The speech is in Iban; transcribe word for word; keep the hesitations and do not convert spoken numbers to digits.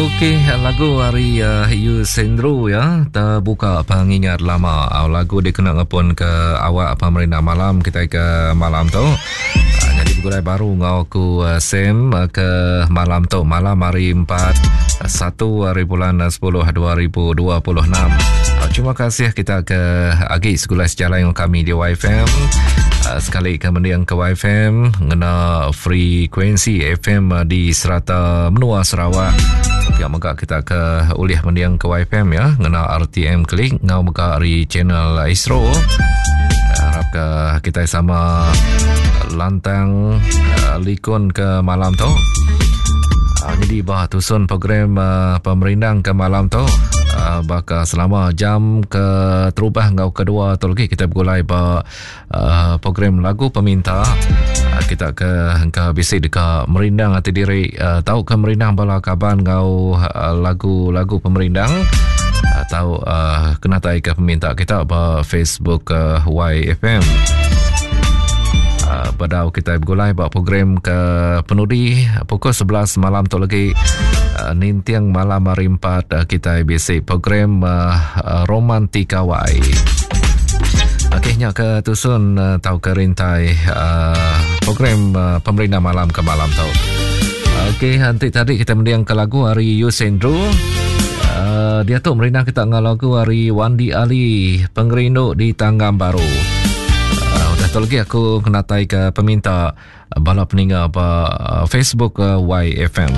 Okey, lagu hari uh, Yus Andrew ya, terbuka pengingat lama. Uh, lagu dikena ngepun ke awak pemerintah malam kita ke malam tu. Uh, jadi bergulai baru ngau aku uh, Sam uh, ke malam tu, malam hari empat satu hari bulan sepuluh dua ribu dua puluh enam. Uh, terima kasih kita ke agi segulai sejalan dengan kami di Y F M. Uh, sekali ke mendiang ke Y F M ngena frekuensi F M uh, di serata menua Sarawak. Pihak mega kita ke ulih mendiang ke Y F M ya ngena R T M klik ngau mega ari channel Astro. Harap ke kita sama lantang uh, likun ke malam tu. Uh, jadi bah tusun program uh, pemerindang ke malam tu. Uh, bakal selama jam ke terubah ngau kedua tu lagi kita bergulai ba uh, program lagu peminta. Uh, kita ke hengka bisik dekat merindang hati diri, uh, tahu ke merindang bala kaban ngau uh, lagu-lagu pemerindang atau uh, kena tai ke peminta kita ba Facebook uh, Y F M. Uh, badau kita bergulai ba program ke penudi pukul sebelas malam tu lagi. Uh, nintiang malam hari empat, uh, kita bisi program uh, uh, Romantika Y. Okey, nya ke tusun uh, tau ke rintai uh, program uh, pemerintah malam ke malam tu. Okey, nanti tadi kita mendiang ke lagu hari Yus Andrew. Uh, dia tu merindang kita dengan lagu hari Wandi Ali, Pengerindu di Tanggam Baru. Uh, udah tu lagi aku kena tai ke peminta bala peninggal ba Facebook uh, Y F M.